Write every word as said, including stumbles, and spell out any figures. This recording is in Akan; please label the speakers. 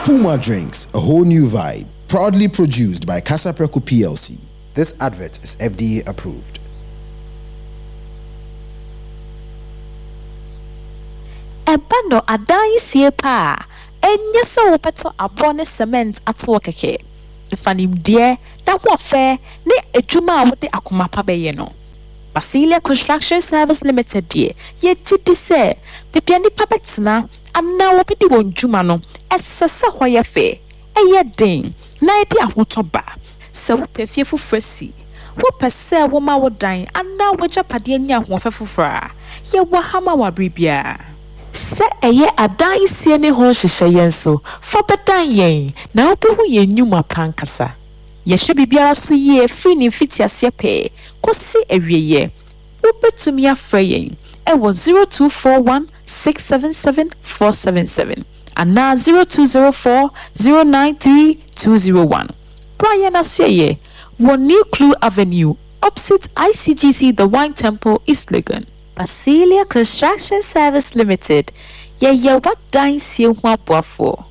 Speaker 1: Puma Drinks, a whole new vibe. Proudly produced by Kasapreko P L C. This advert is F D A approved.
Speaker 2: Ɛba no adansie pa a, ɛnyɛ sɛ wobɛtɔ aboɔ ne cement atoɔ kɛkɛ. Fa nimdeɛ na hoɔfɛ ne adwuma a wode akoma pa bɛyɛ no. Basilia Construction Service Limited deɛ, yɛgye di sɛ baabi a nnipa bɛtena anaa wɔbɛdi wɔn dwuma no, ɛsɛ sɛ hɔ yɛ fɛ, ɛyɛ den na ɛde ahotɔ ba. Sɛ wopɛ fie foforɔ si, wopɛ sɛ woma wo dan anaa w'agyapadeɛ nya ahoɔfɛ foforɔ a, yɛwɔ ha ma wo abere biara. Sɛ ɛyɛ adansie ne ho nhyehyɛeɛ nso, fa bɛdan yɛn na wobɛhu yɛn nnwuma pa ankasa. Yɛhwɛ biribiara so yie firi ne mfitiaseɛ pɛɛ kɔsi awieeɛ. Wobɛtumi afrɛ yɛn ɛwɔ zero two four one six seven seven four seven seven anaa zero two zero four zero nine three two zero one. Bra yɛn asoɛyɛ wɔ New Clue Avenue, opposite I C G C The Wine Temple, East Legon. Basilia Construction Service Limited, yɛyɛ w'adansie ho aboafoɔ.